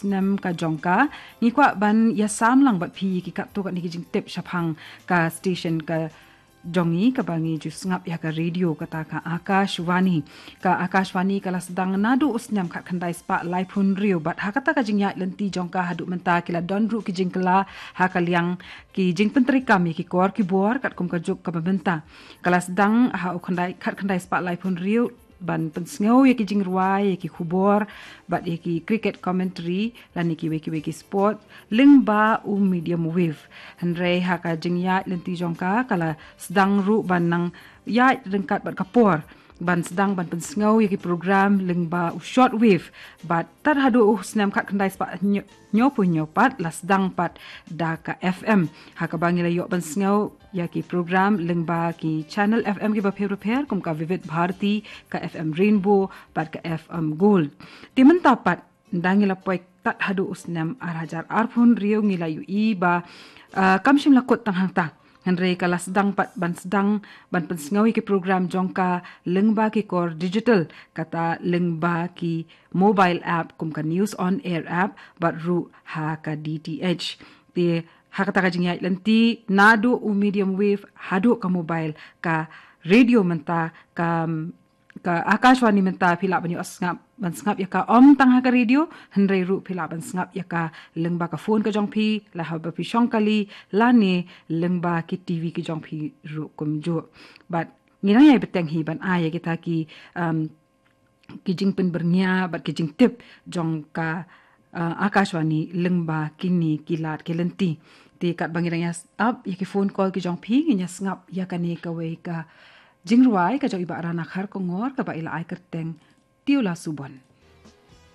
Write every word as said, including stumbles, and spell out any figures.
snem ka jong ka, ngi kwah ban ïa sam lang bad phi ki katto katne ki jingtip shaphang ka station ka jong ngi kaba ngi ju sngap ïa ka radio kata ka Akashvani. Ka Akashvani ka la sdang naduh u snem khatkhyndai spah laiphew hynriew bad ha kata ka jingïaid lynti jong ka haduh mynta ki la don ruh ki jingkylla ha ka liang ki jingpyntreikam ïa ki kor ki bor katkum ka juk kaba mynta. Ka la sdang ha u khyndai, khatkhyndai spah laiphew hynriew ban pynsngew ïa ki jingrwai, ïa ki khubor bad ïa ki cricket commentary lane kiwei kiwei ki sport lyngba u medium wave. Hynrei ha ka jingïaid lynti jong ka ka la sdang ruh ban nang ïaid ryngkat bad ka por ban sdang ban pynsngew ïa ki program lyngba u short wave. Bad tad haduh u snem khatkhyndai spah hynñiew, hynñiewphew hynñiew pat la sdang pat da ka F M. Ha kaba ngi la ïoh ban sngew ïa ki program lyngba ki channel F M kiba pher bapher kum ka Vivid Bharati, ka F M Rainbow bad ka F M Gold. Te mynta pat ynda ngi la poi tad haduh u snem ar hajar arphew hynriew ngi la ïohi ba, ah, kam shym la kut tang hangta. Hynrei ka la sdang pat ban sdang ban pynsngew ïa ki program jong ka lyngba ki kor digital, kata lyngba ki mobile app kum ka News on Air app bad ruh ha ka D T H. Te ha kata ka jingïaid lynti naduh u medium wave haduh ka mobile, ka radio mynta, ka, ka Akashvani mynta phi lah ban ïoh sngap, ban sngap ïa ka ym tang ha ka radio, hynrei ruh phi lah ban sngap ïa ka lyngba ka phone ka jong phi, lada haba phi shong kali, lane lyngba ki T V ki jong phi ruh kumjuh. Bad ngi nang ïai bteng hi ban ai ïa kita ki, um, ki jingpynbyrngia bad ki jingtip jong ka, uh, Akashvani lyngba kine ki lad ki lynti. Te katba ngi dang ïa ap ïa ki phone call ki jong phi, ngin ïa sngap ïa kane kawei ka jingrwai ka jong i Bah Rana Kharkongor kaba i la ai kyrteng Tiula Subon.